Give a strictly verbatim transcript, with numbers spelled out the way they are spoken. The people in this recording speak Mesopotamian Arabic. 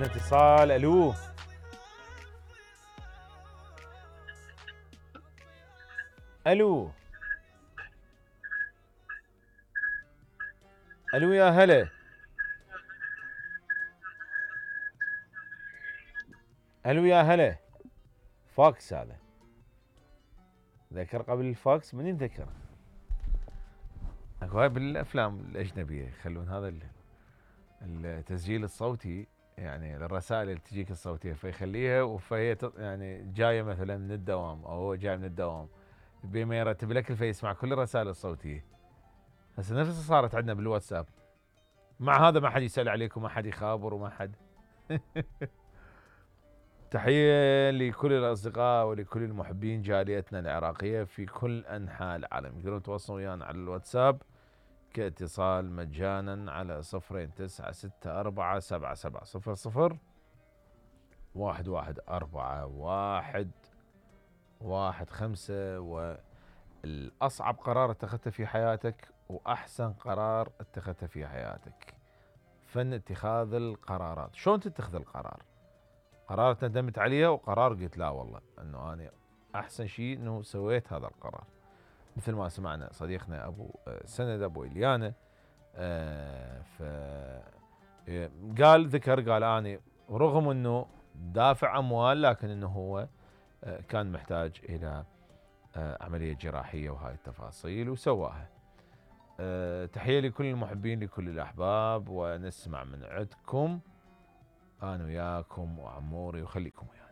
اتصال. الو الو الو يا هلا. الو يا هلا. فاكس هذا. ذكر قبل الفاكس من يذكر؟ اكو هاي بالافلام الاجنبيه يخلون هذا التسجيل الصوتي يعني للرسائل اللي تجيك الصوتيه فيخليها وفهي يعني جايه مثلا من الدوام او هو جاي من الدوام بما يرتب لك فيسمع كل الرسائل الصوتيه. هسه نفسها صارت عندنا بالواتساب. مع هذا ما حد يسال عليك وما حد يخابر وما حد. تحيه لكل الاصدقاء ولكل المحبين جاليتنا العراقيه في كل انحاء العالم. يقدرون يتواصلون ويانا على الواتساب كاتصال مجانا على صفرين تسعة ستة أربعة سبعة سبعة صفر صفر واحد واحد أربعة واحد واحد خمسة. والأصعب قرار اتخذته في حياتك وأحسن قرار اتخذته في حياتك. فن اتخاذ القرارات. شلون تتخذ القرار؟ قرار ندمت عليه وقرار قلت لا والله انه انا احسن شيء انه سويت هذا القرار. مثل ما سمعنا صديقنا ابو سند ابو اليانا ف قال ذكر قال اني رغم انه دافع اموال لكن انه هو كان محتاج الى عمليه جراحيه وهاي التفاصيل وسواها. تحيه لكل المحبين لكل الاحباب ونسمع من عندكم انا وياكم وعموري وخليكم ويانا.